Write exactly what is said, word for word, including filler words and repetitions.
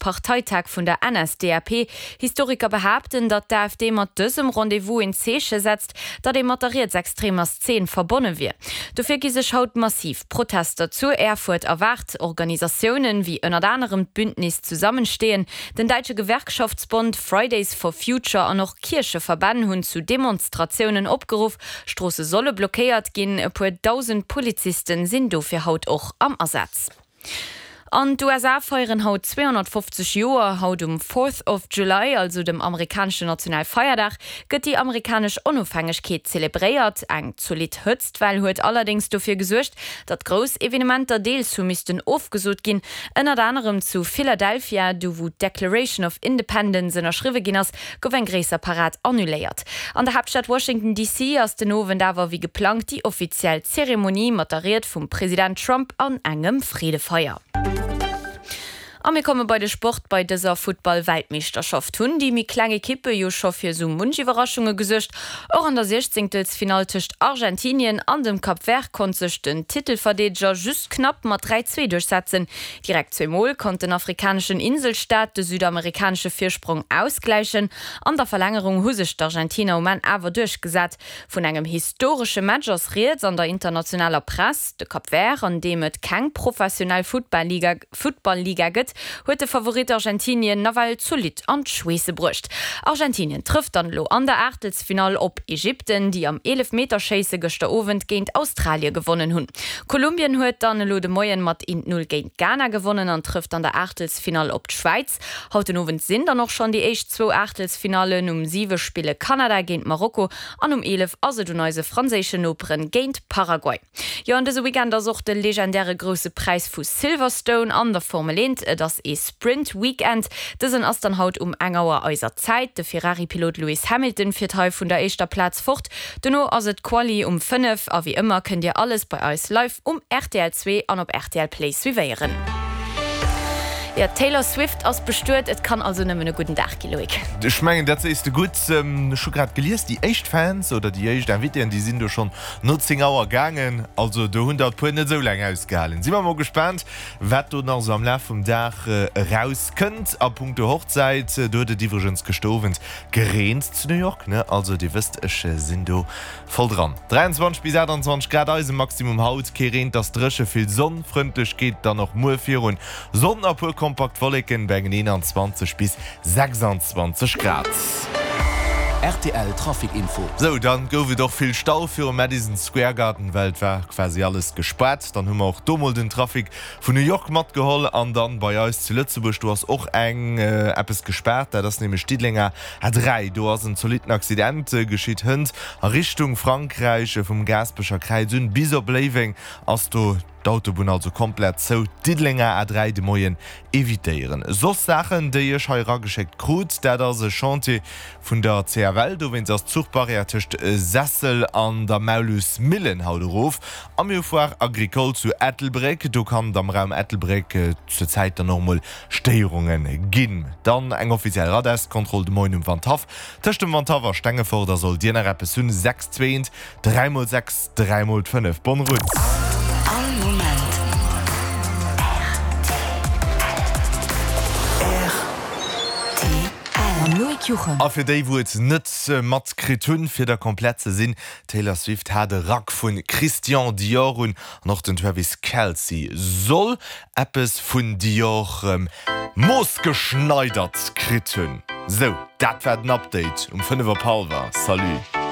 Parteitag vun der N S D A P. Historiker behaapten, datt d'AfD mat dësem Rendez-vous een Zeeche setzt, datt ee mat der rietsextremer Szene verbonne wier. Dofir gi sech haut massiv Protester zu Erfurt erwaart. Organisatiounen wéi ënnert anerem d'Bündnis Zusammenstehen, den Däitsche Gewerkschaftsbond, Fridays for Future an och Kiercheverbänn hunn zu Demonstratiounen opgeruff. Stroosse solle blockéiert ginn, e puer dausend Polizisten sinn dofir haut och am Asaz. An d'U S A feieren haut zweehonnertfofzeg Joer. Haut um Fourth of July, also dem amerikaneschen Nationalfeierdag, gëtt déi amerikanesch Onofhängegkeet zelebréiert. Eng zolidd Hëtztwell huet allerdéngs dofir gesuergt, datt grouss Evenementer deels hu missten ofgesot ginn. Ënnert anerem zu Philadelphia, do wou d'Declaration of Independence ënnerschriwwe ginn ass, gouf eng gréisser Parad annuléiert. An der Haaptstad Washington D C ass den Owend awer wéi geplangt déi offiziell Zeremonie mat der Ried vum President Trump an engem Freedefeier. A mir komme bei de Sport. Bei dëser Futtball-Weltmeeschterschaft hunn déi méi kleng Ekippe jo scho fir sou munch Iwwerraschunge gesuergt. Och an der Siechzéngtelsfinall tëscht Argentinien an dem Cap Vert konnt sech den Titelverdeedeger just knapp mat dräi zwee duerchsetzen. Direkt zwee Mol konnt den afrikaneschen Inselstaat de südamerikanesche Virsprong ausgläichen. An der Verlängerung hu sech d'Argentiner um Enn awer duerchgesat. Vun engem historesche Match ass rieds an der internationaler Press. De Cap Vert, an deem et keng professionell Futtballliga, Futtballliga gëtt, huet de Favorit Argentinien nawell zolidd an d'Schweesse bruecht. Argentinien trëfft dann elo an der Aachtelsfinall op Ägypten, déi am Eelefmeterschéisse gëschter Owend géint Australie gewonnen hunn. Kolumbien huet dann elo de Moien mat eent null géint Ghana gewonnen an trëfft an der Aachtelsfinall op d'Schwäiz. Haut den Owend sinn dann och schonn déi éischt zwou Aachtelsfinallen. Um siwe spille Kanada géint Marokko an um eelef ass et un eise franséischen Noperen géint Paraguay. Jo, an dëse Weekend ass och de legendäre Grousse Präis vu Silverstone an der Formel eent. Et ass ee Sprint-Weekend. Dësen ass dann haut um eng Auer eiser Zäit. De Ferrari-Pilot Lewis Hamilton fiert hei vun der éischter Plaz fort. Dono ass et Quali um fënnef. A wéi ëmmer kënnt Dir alles bei eis live um R T L zwee an op R T L Play suivéieren. Ja, Taylor Swift ass bestuet, et kann also nëmmen e gudden Dag gi, Loïc. Ech mengen, dat sees de gutt. Ech hu grad gelies, déi éischt Fans oder déi éischt Invitéen, déi sinn do schonn no zéng Auer gaangen. Also do hunn der e puer net esou laang ausgehalen. Si mer mol gespaant, wat do nach esou am Laf vum Dag erauskënnt. A punkto Hochzäit, do huet et iwwregens gëschter Owend gereent zu New York, ne? Also Dir wësst, ech sinn do voll dran. dräianzwanzeg bis aachtanzwanzeg Grad eise Maximum haut, kee Reen, et ass dréche, vill Sonn, frëndlech geet dann och muer virun. Sonn a puer kompakt Wolleken bei engen eenanzwanzeg bis sechsanzwanzeg Grad. R T L Trafic Info. Sou, dann gouf et och vill Stau virum Madison Square Garden, well et war quasi alles gespaart. Dann hu mer och do mol den Trafic vun New York matgeholl an dann bei eis zu Lëtzebuerg, do ass och eng, eppes gespaart, dat ass nämlech Diddelenger A dräi. Do ass en zolitten Accident geschitt hënt a Richtung Frankräich vum Gaasperecher Kräiz un bis op Léiweng ass do d'Autobunn also komplett zou. Diddelenger A dräi de Moien evitéieren. Soss Saachen, déi ech hei erageschéckt krut, dat ass e Chantier vun der C F L. Dowéinst ass d'Zuchbarrière tëscht Sessel an der Maulus-Millen haut erof. Am hu Foire Agricole zu Ettelbréck. Do kann et am Raum Ettelbréck zur Zäit dann och mol Stéierunge ginn. Dann eng offiziell Radars-Kontroll de Moien um Wandhaff. Tëscht dem Wandhaff a Stengefort, da sollt Dir nach eppes hunn. Sechs zweent, dräi mol sechs, dräi mol fënnef. Bonne route! All Moment. R T L. Mam Loïc Juchem. A fir déi, wou et net matkritt hunn, fir der komplett ze sinn, Taylor Swift hat e Rack vun Christian Dior un an och den Travis Kelce soll eppes vun Dior moossgeschneidert kritt hunn. Sou, dat war den Update um fënnef op hallwer. Salut!